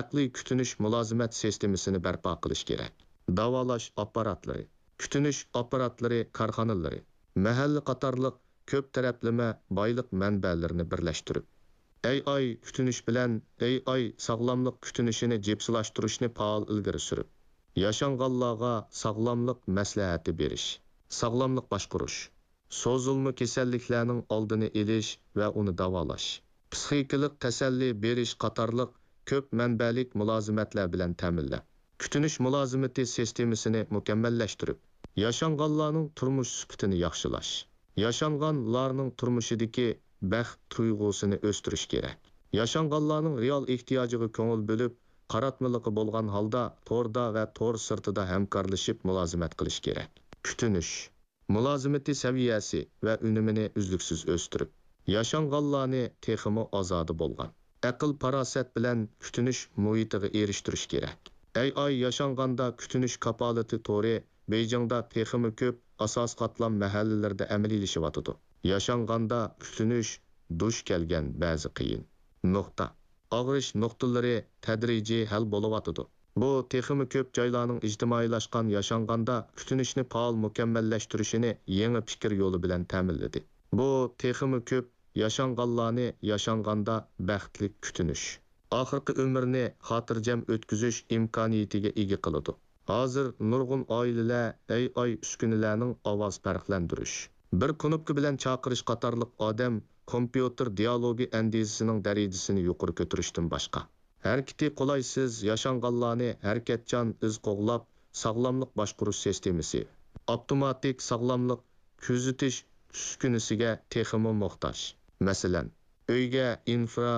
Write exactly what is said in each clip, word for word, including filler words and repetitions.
ئەقلىي كۈتۈنۈش مۇلازىمەت سىستېمىسىنى بەرپا قىلىش كېرەك. داۋالاش ئاپپاراتلىرى، كۈتۈنۈش ئاپپاراتلىرى كارخانىلىرى، مەھەللە قاتارلىق كۆپ تەرەپلىمە بايلىق مەنبەلىرىنى بىرلەشتۈرۈپ، ئەي ئاي كۈتۈنۈش بىلەن ئەي ئاي ساغلاملىق كۈتۈنۈشىنى جىپسىلاشتۇرۇشنى پائال ئىلگىرى سۈرۈپ، ياشانغانلارغا ساغلاملىق مەسلىھەتى بېرىش، ساغلاملىق باشقۇرۇش، سوزۇلما كېسەللىكلەرنىڭ ئالدىنى ئېلىش ۋە ئۇنى داۋالاش، پىسخىكىلىق تەسەللى بېرىش قاتارلىق كۆپ مەنبەلىك مۇلازىمەتلەر بىلەن تەمىنلەپ، كۈتۈنۈش مۇلازىمىتى سىستېمىسىنى مۇكەممەللەشتۈرۈپ، ياشانغانلارنىڭ تۇرمۇش سۈپىتىنى ياخشىلاش، ياشانغانلارنىڭ تۇرمۇشىدىكى بەخت تۇيغۇسىنى ئۆستۈرۈش كېرەك. ياشانغانلارنىڭ رېئال ئېھتىياجىغا كۆڭۈل بۆلۈپ، قاراتمىلىقى بولغان ھالدا توردا ۋە تور سىرتىدا ھەمكارلىشىپ مۇلازىمەت قىلىش كېرەك. كۈتۈنۈش مۇلازىمىتى سەۋىيەسى ۋە ئۈنۈمىنى ئۈزلۈكسىز ئۆستۈرۈپ، ياشانغانلارنى تېخىمۇ ئازادە بولغان، ئەقىل-پاراسەت بىلەن كۈتۈنۈش مۇھىتىغا ئېرىشتۈرۈش كېرەك. ئەي ئاي ياشانغاندا كۈتۈنۈش كاپالىتى تورى بېيجىڭدا تېخىمۇ كۆپ ئاساسىي قاتلام مەھەللىلىرىدە ئەمەلىيلىشىۋاتىدۇ. ياشانغاندا كۈتۈنۈش دۇچ كەلگەن بەزى قىيىن نۇقتا، ئاغرىش نۇقتىلىرى تەدرىجىي ھەل بولۇۋاتىدۇ. بۇ تېخىمۇ كۆپ جايلارنىڭ ئىجتىمائىيلاشقان ياشانغاندا كۈتۈنۈشنى پائال مۇكەممەللەشتۈرۈشىنى يېڭى پىكىر يولى بىلەن تەمىنلىدى. بۇ تېخىمۇ كۆپ ياشانغانلارنى ياشانغاندا بەختلىك كۈتۈنۈش، ئاخىرقى ئۆمرىنى خاتىرجەم ئۆتكۈزۈش ئىمكانىيىتىگە ئىگە قىلىدۇ. ھازىر نۇرغۇن ئائىلىلەر ئەي ئاي ئۈسكۈنىلەرنىڭ ئاۋاز پەرقلەندۈرۈش، بىر كۇنۇپكا بىلەن چاقىرىش قاتارلىق ئادەم كومپيۇتېر دىئالوگى ئەندىزىسىنىڭ دەرىجىسىنى يۇقىرى كۆتۈرۈشتىن باشقا، ھەرىكىتى قولايسىز ياشانغانلارنى ھەرىكەتچان ئىز قوغلاپ، ساغلاملىق باشقۇرۇش سىستېمىسى، ئاپتوماتىك ساغلاملىق كۆزىتىش ئۈسكۈنىسىگە تېخىمۇ موھتاج. مەسىلەن، ئۆيگە ئىنفرا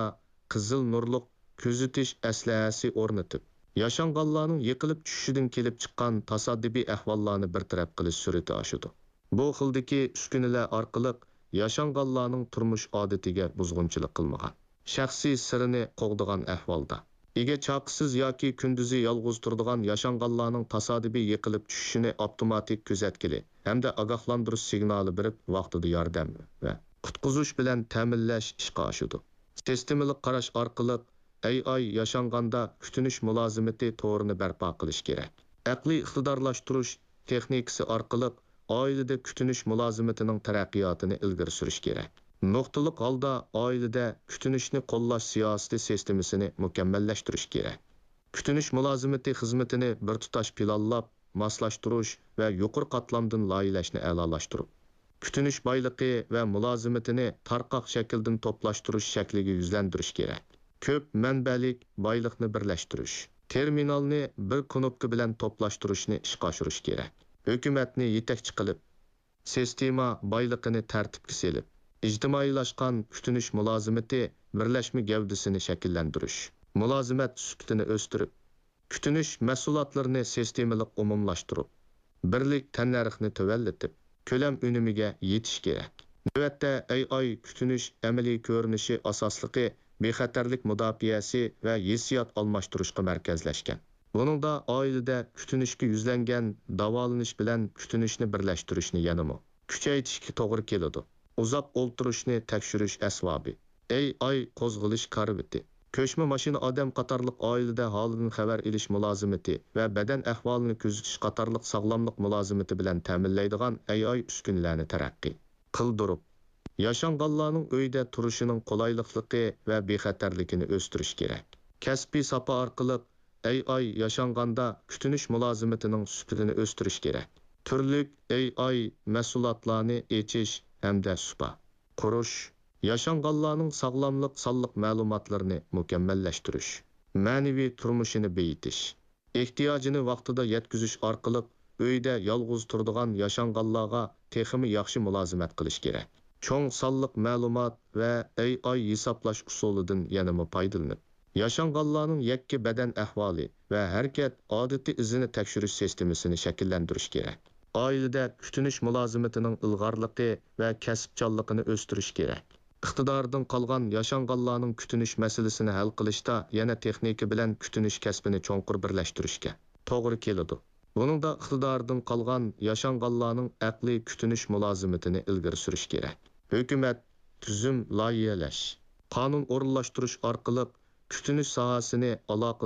قىزىل نۇرلۇق كۆزىتىش ئەسلىھەسى ئورنىتىپ، ياشانغانلارنىڭ يىقىلىپ چۈشۈشىدىن كېلىپ چىققان تاسادىپىي ئەھۋاللارنى بىر تەرەپ قىلىش سۈرئىتى ئاشىدۇ. بۇ خىلدىكى ئۈسكۈنىلەر ئارقىلىق ياشانغانلارنىڭ تۇرمۇش ئادىتىگە بۇزغۇنچىلىق قىلمىغان، شەخسىي سىرىنى قوغدىغان ئەھۋالدا، ئىگە چاقىسىز ياكى كۈندۈزى يالغۇز تۇرىدىغان ياشانغانلارنىڭ تاسادىپىي يىقىلىپ چۈشۈشىنى ئاپتوماتىك كۆزەتكىلى ھەمدە ئاگاھلاندۇرۇش سىگنالى بېرىپ، ۋاقتىدا ياردەم ۋە قۇتقۇزۇش بىلەن تەمىنلەش ئىشقا ئاشىدۇ. سىستېمىلىق قاراش ئارقىلىق، ئەي ئاي ياشانغاندا كۈتۈنۈش مۇلازىمىتى تورىنى بەرپا قىلىش كېرەك. ئەقلىي ئىقتىدارلاشتۇرۇش تېخنىكىسى ئارقىلىق ئائىلىدە كۈتۈنۈش مۇلازىمىتىنىڭ تەرەققىياتىنى ئىلگىرى سۈرۈش كېرەك. نۇقتىلىق ھالدا ئائىلىدە كۈتۈنۈشنى قوللاش سىياسىتى سىستېمىسىنى مۇكەممەللەشتۈرۈش كېرەك. كۈتۈنۈش مۇلازىمىتى خىزمىتىنى بىر تۇتاش پىلانلاپ، ماسلاشتۇرۇش ۋە يۇقىرى قاتلامدىن لايىھەلەشنى ئەلالاشتۇرۇپ، كۈتۈنۈش بايلىقى ۋە مۇلازىمىتىنى تارقاق شەكىلدىن توپلاشتۇرۇش شەكلىگە يۈزلەندۈرۈش كېرەك. كۆپ مەنبەلىك بايلىقنى بىرلەشتۈرۈش، تېرمىنالنى بىر كۇنۇپكا بىلەن توپلاشتۇرۇشنى ئىشقا ئاشۇرۇش كېرەك. ھۆكۈمەتنى يېتەكچى قىلىپ، سىستېما بايلىقىنى تەرتىپكە سېلىپ، ئىجتىمائىيلاشقان كۈتۈنۈش مۇلازىمىتى بىرلەشمە گەۋدىسىنى شەكىللەندۈرۈش، مۇلازىمەت سۈپىتىنى ئۆستۈرۈپ، كۈتۈنۈش مەھسۇلاتلىرىنى سىستېمىلىق ئومۇملاشتۇرۇپ، بىرلىك تەننەرخنى تۆۋەنلىتىپ، كۆلەم ئۈنۈمىگە يېتىش كېرەك. نۆۋەتتە، ئەي ئاي كۈتۈنۈش ئەمەلىي كۆرۈنۈشى ئاساسلىقى بىخەتەرلىك مۇداپىئەسى ۋە ھېسسىيات ئالماشتۇرۇشقا مەركەزلەشكەن. بۇنىڭدا ئائىلىدە كۈتۈنۈشكە يۈزلەنگەن داۋالىنىش بىلەن كۈتۈنۈشنى بىرلەشتۈرۈشنى يەنىمۇ كۈچەيتىشكە توغرا كېلىدۇ. ئۇزاق ئولتۇرۇشنى تەكشۈرۈش ئەسۋابى، ئەي ئاي قوزغىلىش كارىۋىتى، كۆچمە ماشىنا ئادەم قاتارلىق ئائىلىدە ھالىدىن خەۋەر ئېلىش مۇلازىمىتى ۋە بەدەن ئەھۋالىنى كۆزىتىش قاتارلىق ساغلاملىق مۇلازىمىتى بىلەن تەمىنلەيدىغان ئەي ئاي ئۈسكۈنىلەرنى تەرەققىي قىلدۇرۇپ، ياشانغانلارنىڭ ئۆيدە تۇرۇشىنىڭ قولايلىقلىقى ۋە بىخەتەرلىكىنى ئۆستۈرۈش كېرەك. كەسپىي ساپا ئارقىلىق ئەي ئاي ياشانغاندا كۈتۈنۈش مۇلازىمىتىنىڭ سۈپىتىنى ئۆستۈرۈش كېرەك. تۈرلۈك ئەي ئاي مەھسۇلاتلارنى ئېچىش ھەمدە سۇپا قۇرۇش، ياشانغانلارنىڭ ساغلاملىق سانلىق مەلۇماتلىرىنى مۇكەممەللەشتۈرۈش، مەنىۋى تۇرمۇشىنى بېيىتىش، ئېھتىياجىنى ۋاقتىدا يەتكۈزۈش ئارقىلىق ئۆيدە يالغۇز تۇرىدىغان ياشانغانلارغا تېخىمۇ ياخشى مۇلازىمەت قىلىش كېرەك. چوڭ سانلىق مەلۇمات ۋە ئەي ئاي ھېسابلاش ئۇسۇلىدىن يەنىمۇ پايدىلىنىپ، ياشانغانلارنىڭ يەككە بەدەن ئەھۋالى ۋە ھەرىكەت ئادىتى ئىزىنى تەكشۈرۈش سىستېمىسىنى شەكىللەندۈرۈش كېرەك. ئائىلىدە كۈتۈنۈش مۇلازىمىتىنىڭ ئىلغارلىقى ۋە كەسىپچانلىقىنى ئۆستۈرۈش كېرەك. ئىقتىدارىدىن قالغان ياشانغانلارنىڭ كۈتۈنۈش مەسىلىسىنى ھەل قىلىشتا يەنە تېخنىكا بىلەن كۈتۈنۈش كەسپىنى چوڭقۇر بىرلەشتۈرۈشكە توغرا كېلىدۇ. بۇنىڭدا ئىقتىدارىدىن قالغان ياشانغانلارنىڭ ئەقلىي كۈتۈنۈش مۇلازىمىتىنى ئىلگىرى سۈرۈش كېرەك. ھۆكۈمەت، تۈزۈم لايىھەلەش، قانۇن ئورۇنلاشتۇرۇش ئارقىلىق كۈتۈنۈش ساھەسىنى ئالاقىدار